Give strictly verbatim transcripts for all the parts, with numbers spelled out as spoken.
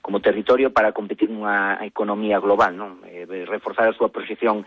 como territorio para competir nunha economía global, non? Eh, reforzar a súa proxección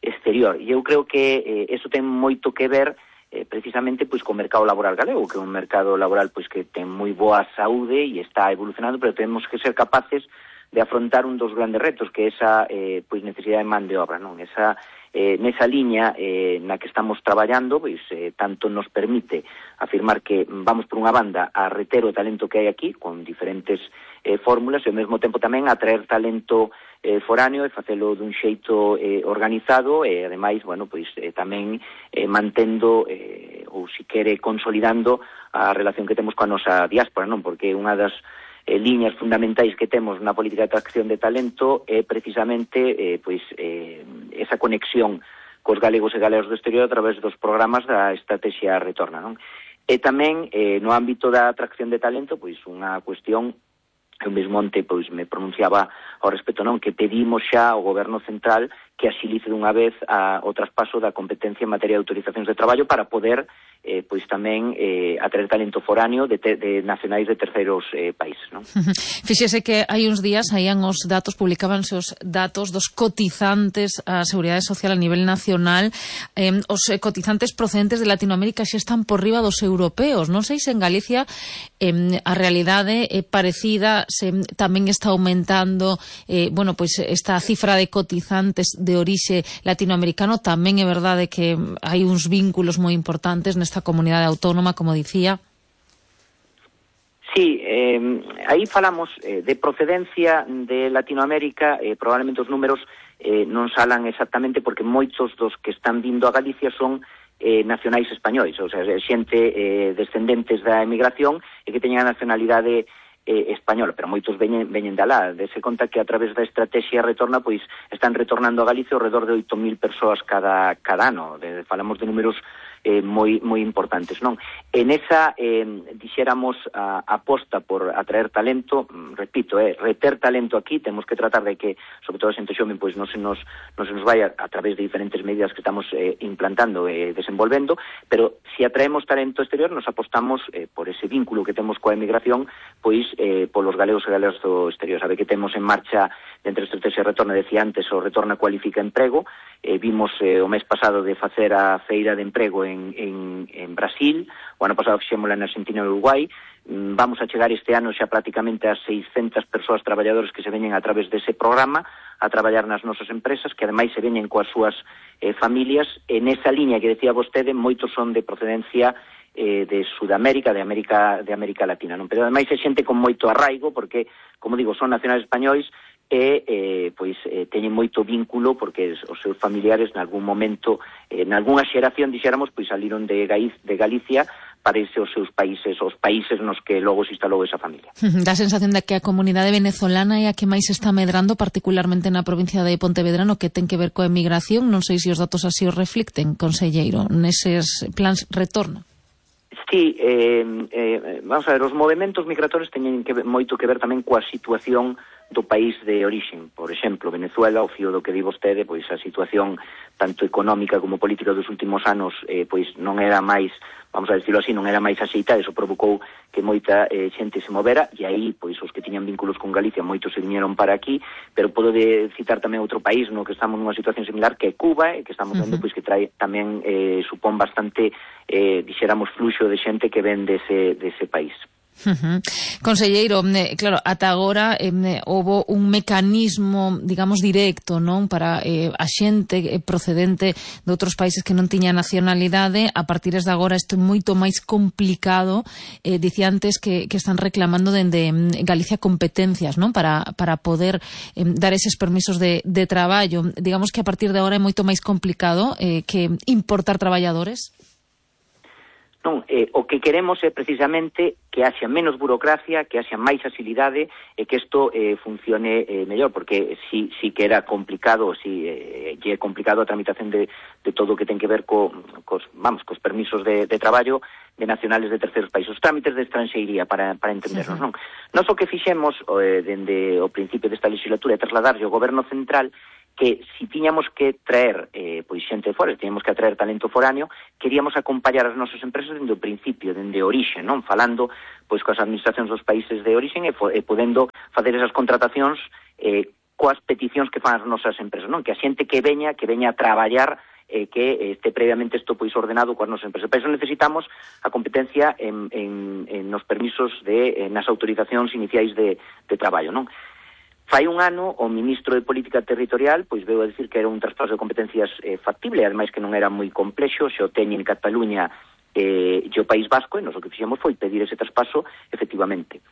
exterior. E eu creo que eh, eso ten moito que ver eh, precisamente pois co mercado laboral galego, que é un mercado laboral pois que ten moi boa saúde e está evolucionando, pero temos que ser capaces de afrontar un dos grandes retos, que é esa eh, pois necesidade de man de obra, non? Esa eh, nesa liña eh, na que estamos traballando, pois eh, tanto nos permite afirmar que vamos por unha banda a reter o talento que hai aquí con diferentes eh, fórmulas e ao mesmo tempo tamén a traer talento eh, foráneo e facelo dun xeito eh, organizado e ademais, bueno, pois eh, tamén eh, mantendo eh, ou si quere consolidando a relación que temos coa nosa diáspora, non? Porque unha das Eh, liñas fundamentais que temos na política de atracción de talento é precisamente eh, pois eh, esa conexión cos galegos e galegas do exterior a través dos programas da Estrategia Retorna, non? E tamén eh, no ámbito da atracción de talento, pois unha cuestión que eu mesmo onte pois me pronunciaba ao respecto, non? Que pedimos xa ao Goberno Central que axilice dunha vez a, o traspaso da competencia en materia de autorizacións de traballo para poder eh, pois tamén eh, atraer talento foráneo de, te, de nacionais de terceiros eh, países, non? Fíxese que hai uns días saían os datos, publicábanse os datos dos cotizantes á Seguridade Social a nivel nacional. Eh, os cotizantes procedentes de Latinoamérica xa están por riba dos europeos. Non sei se en Galicia eh, a realidade é parecida, se tamén está aumentando eh, bueno, pois esta cifra de cotizantes de orixe latinoamericano. Tamén é verdade que hai uns vínculos moi importantes nesta comunidade autónoma, como dicía. Sí, eh, aí falamos eh, de procedencia de Latinoamérica, eh, probablemente os números eh, non salan exactamente porque moitos dos que están vindo a Galicia son eh, nacionais españois, ou sea, xente eh, descendentes da emigración e que teñan a nacionalidade eh, española, pero moitos veñen, veñen de alá. Dese conta que a través da Estrategia Retorna pois están retornando a Galicia ao redor de oito mil persoas cada, cada ano. De, falamos de números Eh, moi moi importantes, non? En esa, eh, dixéramos, a, a aposta por atraer talento, repito, eh, reter talento aquí, temos que tratar de que, sobre todo a xente xoven, pois non se nos, non se nos vaya a través de diferentes medidas que estamos eh, implantando e eh, desenvolvendo, pero se atraemos talento exterior, nos apostamos eh, por ese vínculo que temos coa emigración, pois eh, polos galegos e galegas do exterior. Sabe que temos en marcha, dentro da Estrategia Retorna, decía antes, o Retorna Cualifica Emprego, eh, vimos eh, o mes pasado de facer a feira de emprego en En, en, en Brasil, o ano pasado fixémola en Argentina e Uruguai. Vamos a chegar este ano xa prácticamente a seiscentas persoas traballadores que se veñen a través dese programa a traballar nas nosas empresas, que ademais se veñen coas súas eh, familias. En esa liña que decía vostede, moitos son de procedencia eh, de Sudamérica, de América, de América Latina, non? Pero ademais é xente con moito arraigo, porque, como digo, son nacionais españois e eh, pois eh, teñen moito vínculo porque os seus familiares nalgún momento, eh, nalgúnha xeración, dixéramos, pois saliron de, Gaiz, de Galicia para irse aos seus países, os países nos que logo se instalou esa familia. Dá a sensación de que a comunidade venezolana é a que máis está medrando, particularmente na provincia de Pontevedra, no que ten que ver coa emigración. Non sei se os datos así os reflicten, conselleiro, neses plans retorno. Sí, eh, eh, vamos a ver, os movementos migratorios teñen que ver, moito que ver tamén coa situación do país de orixen. Por exemplo, Venezuela, o fío do que di vostede, pois a situación tanto económica como política dos últimos anos eh, pois non era máis, vamos a decirlo así, non era máis axeitada. Eso provocou que moita eh, xente se movera, e aí, pois, os que tiñan vínculos con Galicia, moitos se viñeron para aquí, pero podo de citar tamén outro país no que estamos nunha situación similar, que é Cuba, e que estamos vendo, uh-huh. pois, que trae tamén, eh, supón bastante, eh, dixéramos, fluxo de xente que ven dese, dese país. Uh-huh. Conselleiro, eh, claro, ata agora eh, houbo un mecanismo, digamos, directo, non, para eh, a xente procedente de outros países que non tiña nacionalidade. A partir de agora isto é moito máis complicado. Eh, dicía antes que, que están reclamando dende Galicia competencias, non, para, para poder eh, dar eses permisos de, de traballo. Digamos que a partir de agora é moito máis complicado eh, que importar traballadores. Non, eh, o que queremos é precisamente que haxa menos burocracia, que haxa máis axilidade e que isto eh, funcione eh, mellor, porque si, si que era complicado, si eh, é complicado a tramitación de, de todo o que ten que ver co, cos, vamos, cos permisos de, de traballo de nacionales de terceiros países, os trámites de estranxeiría, para, para entendernos, non? Nós o que fixemos eh, dende o principio desta legislatura é trasladarlle ao Goberno Central que si tiñamos que traer eh, pois xente de fora, tiñamos que atraer talento foráneo, queríamos acompallar as nosas empresas dende o principio, dende o orixe, non? Falando pois coas administracións dos países de orixe e, e podendo facer esas contratacións eh, coas peticións que fan as nosas empresas, non? Que a xente que veña, que veña a traballar eh, que este previamente isto pois ordenado coas nosas empresas. Para iso necesitamos a competencia en, en, en nos permisos de, en nas autorizacións iniciais de, de traballo, non? Fai un ano, o ministro de Política Territorial pois veu a dicir que era un traspaso de competencias eh, factible, ademais que non era moi complexo, xe o teñen en Cataluña eh, e o País Vasco, e nos o que fixemos foi pedir ese traspaso efectivamente.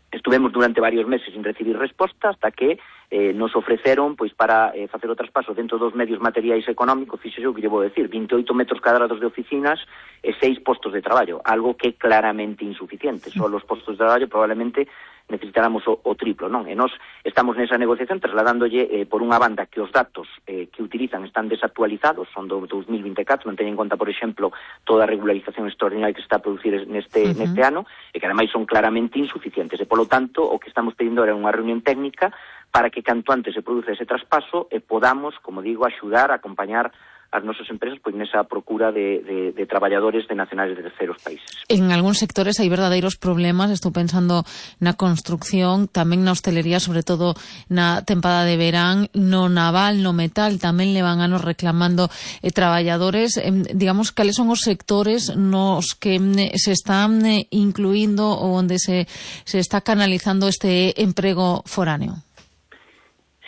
Estuvemos durante varios meses sin recibir resposta hasta que eh, nos ofreceron pois para eh, facer o traspaso dentro dos medios materiais económicos, fixo o que lle vou decir, vinte e oito metros cadrados de oficinas e seis postos de traballo, algo que é claramente insuficiente. Só os postos de traballo probablemente necesitáramos o, o triplo, non? E nós estamos nesa negociación trasladándolle eh, por unha banda que os datos eh, que utilizan están desactualizados, son do dos mil vinte e catro, non teñen en conta, por exemplo, toda a regularización extraordinaria que se está a producir neste, uh -huh. neste ano, e que ademais son claramente insuficientes. E, polo tanto, o que estamos pedindo era unha reunión técnica para que canto antes se produza ese traspaso e podamos, como digo, axudar a acompañar as nosas empresas pois nesa procura de, de, de traballadores de nacionales de terceros países. En algúns sectores hai verdadeiros problemas, estou pensando na construcción, tamén na hostelería, sobre todo na tempada de verán, no naval, no metal, tamén levan anos reclamando eh, traballadores. Eh, digamos, cales son os sectores nos que eh, se están eh, incluindo ou onde se, se está canalizando este emprego foráneo?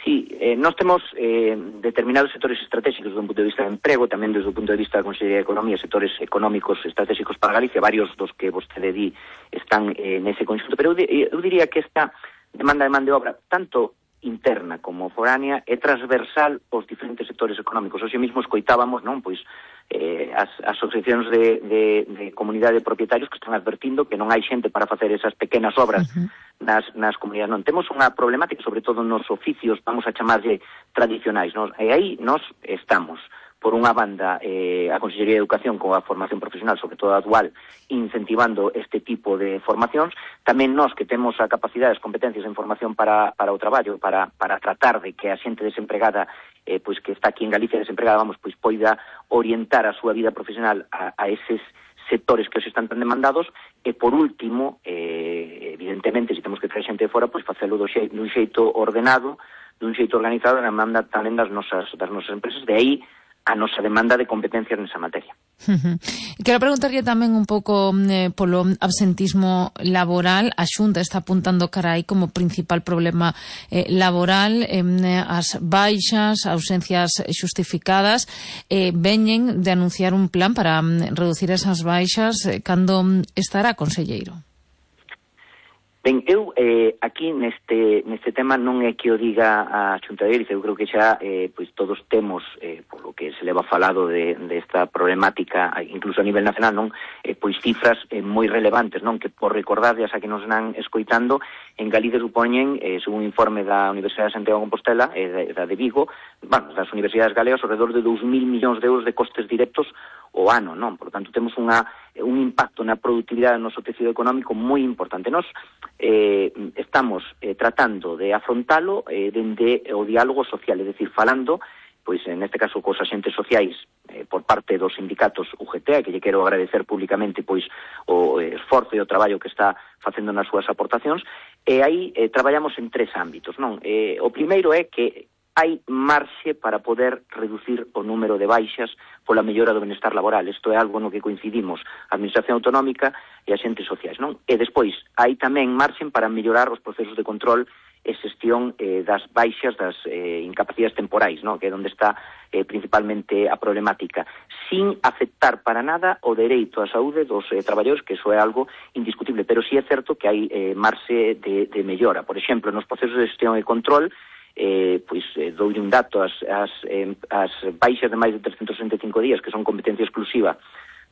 Sí, eh, nós temos eh, determinados sectores estratégicos desde un punto de vista de emprego, tamén desde o punto de vista da Consellería de Economía, sectores económicos estratégicos para Galicia, varios dos que vostede di están eh, nese conxunto, pero eu, eu diría que esta demanda de man de obra, tanto interna como foránea, é transversal aos diferentes sectores económicos. Hoxe mesmo escoitábamos, non, pois, eh, as, as asociacións de, de, de comunidade de propietarios que están advertindo que non hai xente para facer esas pequenas obras uh -huh. nas, nas comunidades. Non, temos unha problemática, sobre todo nos oficios, vamos a chamarlle tradicionais, non? E aí nós estamos, por unha banda, eh, a Consellería de Educación con a formación profesional, sobre todo a dual, incentivando este tipo de formacións. Tamén nós, que temos a capacidade, as competencias en formación para, para o traballo, para, para tratar de que a xente desempregada, eh, pois que está aquí en Galicia desempregada, vamos, pois poida orientar a súa vida profesional a, a eses sectores que os están tan demandados. E, por último, eh, evidentemente, se temos que traer xente de fora, pois facelo do xe, dun xeito ordenado, dun xeito organizado, na demanda tamén das nosas, das nosas empresas. De aí a nosa demanda de competencias nesa materia. Uh -huh. Quero preguntarlle tamén un pouco eh, polo absentismo laboral. A Xunta está apuntando cara aí como principal problema eh, laboral, eh, as baixas, ausencias xustificadas. Eh, veñen de anunciar un plan para mm, reducir esas baixas. Eh, cando estará, conselleiro? Ben, eu eh, aquí neste neste tema non é que o diga a Xunta de Galicia, eu creo que xa eh, pois todos temos, eh, por lo que se leva falado de, de esta problemática, incluso a nivel nacional, non, eh, pois cifras eh, moi relevantes, non, que por recordarles a que nos van escoitando, en Galicia supoñen, eh, según un informe da Universidade de Santiago de Compostela, e eh, da de Vigo, bueno, das universidades galegas, alrededor de dous mil millóns de euros de costes directos o ano, non? Por lo tanto, temos unha, un impacto na productividade do noso tecido económico moi importante. Nos eh, estamos eh, tratando de afrontalo eh, dende o diálogo social, é dicir, falando, pois en este caso cos axentes sociais eh, por parte dos sindicatos U G T, que lle quero agradecer públicamente pois o esforzo e o traballo que está facendo nas súas aportacións, e aí eh, traballamos en tres ámbitos, non? Eh, o primeiro é que hai marxe para poder reducir o número de baixas pola mellora do benestar laboral. Isto é algo no que coincidimos a Administración Autonómica e axentes sociais, non? E despois, hai tamén marxen para mellorar os procesos de control e xestión eh, das baixas, das eh, incapacidades temporais, non? Que é onde está eh, principalmente a problemática, sin afectar para nada o dereito á saúde dos eh, traballadores, que iso é algo indiscutible, pero sí é certo que hai eh, marxe de, de mellora. Por exemplo, nos procesos de xestión e control, Eh, pois eh, doulle un dato, as, as, eh, as baixas de máis de trescentos sesenta e cinco días, que son competencia exclusiva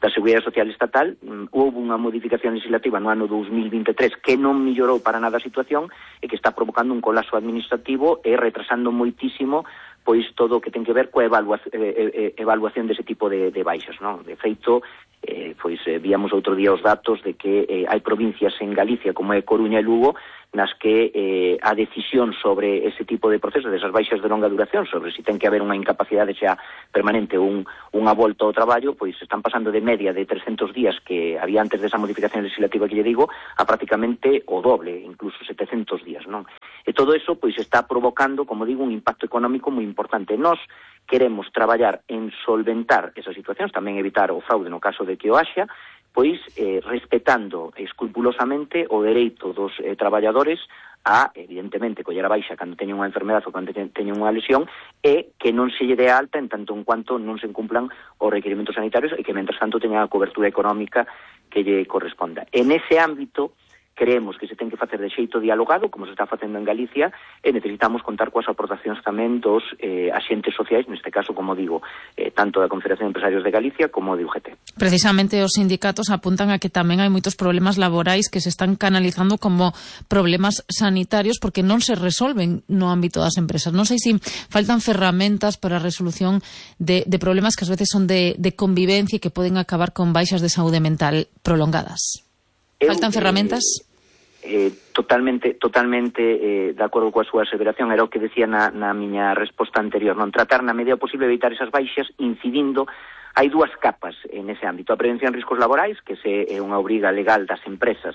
da Seguridade Social Estatal, um, houve unha modificación legislativa no ano dos mil vinte e tres que non mellorou para nada a situación e que está provocando un colapso administrativo e retrasando moitísimo pois todo o que ten que ver coa evaluación, eh, eh, evaluación dese tipo de, de baixas, non? De feito, eh, pois eh, víamos outro día os datos de que eh, hai provincias en Galicia, como é Coruña e Lugo, nas que eh, a decisión sobre ese tipo de procesos, desas baixas de longa duración, sobre se ten que haber unha incapacidade xa permanente ou un, unha volta ao traballo, pois están pasando de media de trescentos días que había antes desa modificación legislativa que lle digo, a prácticamente o doble, incluso setecentos días, non? E todo eso, pois, está provocando, como digo, un impacto económico moi importante. Nós queremos traballar en solventar esas situacións, tamén evitar o fraude no caso de que o haxa, pois eh, respetando escrupulosamente o dereito dos eh, traballadores a, evidentemente, coller a baixa cando teñen unha enfermedade ou cando teñen unha lesión e que non se lle dé alta en tanto en cuanto non se incumplan os requerimentos sanitarios e que, mentras tanto, teñan a cobertura económica que lle corresponda. En ese ámbito, creemos que se ten que facer de xeito dialogado, como se está facendo en Galicia, e necesitamos contar coas aportacións tamén dos eh, axentes sociais, neste caso, como digo, eh, tanto da Confederación de Empresarios de Galicia como de U G T. Precisamente os sindicatos apuntan a que tamén hai moitos problemas laborais que se están canalizando como problemas sanitarios porque non se resolven no ámbito das empresas. Non sei se faltan ferramentas para a resolución de, de problemas que ás veces son de, de convivencia e que poden acabar con baixas de saúde mental prolongadas. Faltan Eu, ferramentas? Eh... Eh, totalmente totalmente eh, de acordo coa súa aseveración, era o que decía na, na miña resposta anterior, non tratar na medida posible de evitar esas baixas incidindo. Hai dúas capas en ese ámbito: a prevención de riscos laborais, que se é unha obriga legal das empresas,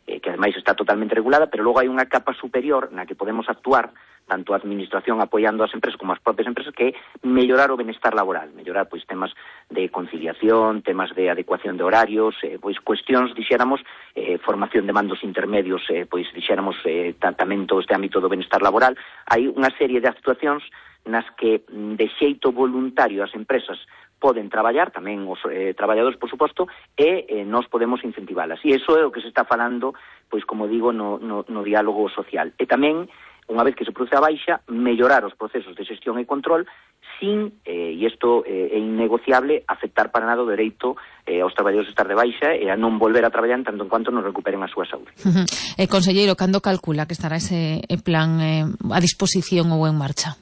eh, que ademais está totalmente regulada, pero logo hai unha capa superior na que podemos actuar tanto a administración apoiando as empresas como as propias empresas, que é mellorar o benestar laboral, mellorar pois temas de conciliación, temas de adecuación de horarios, eh, pois cuestións, dixéramos, eh, formación de mandos intermedios, eh, pois dixéramos, eh, tamén todo este ámbito do benestar laboral. Hai unha serie de actuacións nas que de xeito voluntario as empresas poden traballar, tamén os eh, traballadores, por suposto, e eh, nós podemos incentivalas. E iso é o que se está falando, pois, como digo, no, no, no diálogo social. E tamén, unha vez que se produce a baixa, mellorar os procesos de xestión e control sin, eh, e isto eh, é innegociable, afectar para nada o dereito eh, aos traballadores de estar de baixa e a non volver a traballar en tanto en cuanto non recuperen a súa saúde. Uh-huh. Eh, conselleiro, cando calcula que estará ese plan eh, a disposición ou en marcha?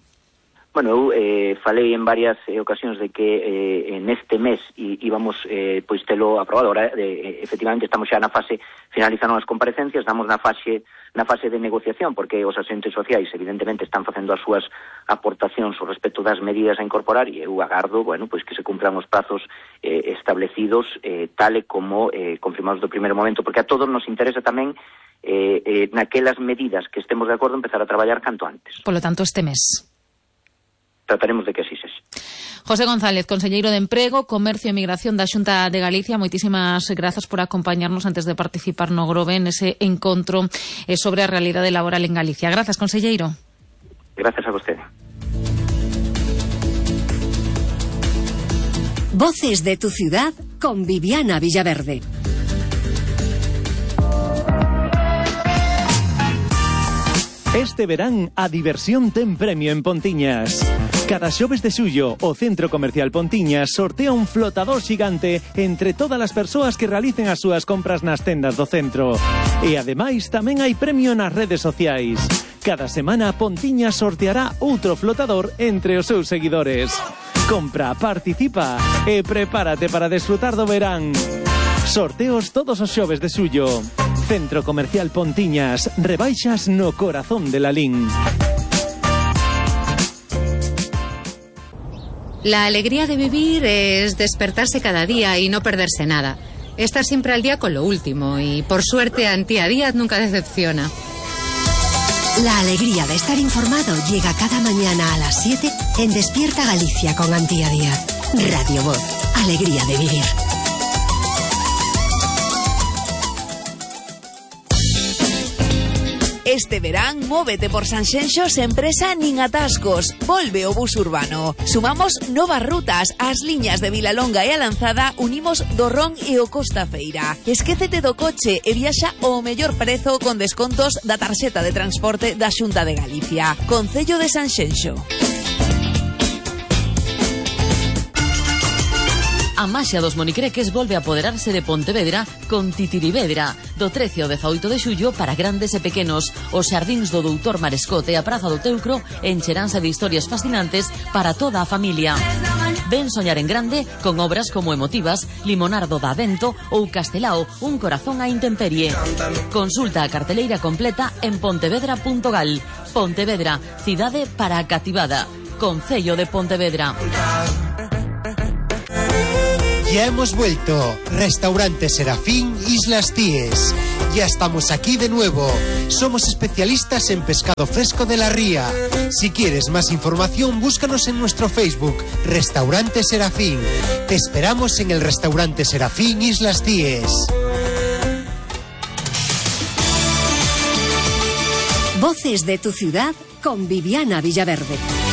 Bueno, eu eh, falei en varias eh, ocasións de que eh, neste mes íbamos eh, pois telo aprobado. Ahora, eh, efectivamente, estamos xa na fase, finalizando as comparecencias, estamos na fase na fase de negociación, porque os asentes sociais, evidentemente, están facendo as súas aportacións ao respecto das medidas a incorporar, e eu agardo, bueno, pois que se cumplan os prazos eh, establecidos eh, tal e como eh, confirmados do primeiro momento, porque a todos nos interesa tamén eh, eh, naquelas medidas que estemos de acordo empezar a traballar canto antes. Por lo tanto, este mes. Trataremos de que así sexa. José González, conselleiro de Emprego, Comercio e Migración da Xunta de Galicia, moitísimas grazas por acompañarnos antes de participar no Grove nese encontro sobre a realidade laboral en Galicia. Grazas, conselleiro. Grazas a vostede. Voces de tu ciudad con Viviana Villaverde. Este verán a diversión ten premio en Pontiñas. Cada xoves de xullo, o Centro Comercial Pontiñas sortea un flotador xigante entre todas as persoas que realicen as súas compras nas tendas do centro. E ademais tamén hai premio nas redes sociais. Cada semana Pontiñas sorteará outro flotador entre os seus seguidores. Compra, participa e prepárate para desfrutar do verán. Sorteos todos os xoves de xullo. Centro Comercial Pontiñas, rebaixas no corazón de Lalín. La alegría de vivir es despertarse cada día y no perderse nada. Estar siempre al día con lo último y, por suerte, Antía Díaz nunca decepciona. La alegría de estar informado llega cada mañana a las siete en Despierta Galicia con Antía Díaz. Radio Voz, alegría de vivir. Este verán, móvete por Sanxenxo sen presa nin atascos. Volve o bus urbano. Sumamos novas rutas. As liñas de Vilalonga e a Lanzada unimos do Ron e o Costa Feira. Esquécete do coche e viaxa ao mellor prezo con descontos da tarxeta de transporte da Xunta de Galicia. Concello de Sanxenxo. A maxia dos monicreques volve a apoderarse de Pontevedra con Titirivedra. Do trece ao dezaoito de xullo para grandes e pequenos. Os xardíns do doutor Marescote e a Praza do Teucro encheranse de historias fascinantes para toda a familia. Ven soñar en grande con obras como Emotivas, Limonardo da Vento ou Castelao, un corazón á intemperie. Consulta a carteleira completa en pontevedra punto gal. Pontevedra, cidade para a cativada. Concello de Pontevedra. Ya hemos vuelto. Restaurante Serafín, Islas Cíes. Ya estamos aquí de nuevo. Somos especialistas en pescado fresco de la ría. Si quieres más información, búscanos en nuestro Facebook, Restaurante Serafín. Te esperamos en el Restaurante Serafín, Islas Cíes. Voces de tu ciudad con Viviana Villaverde.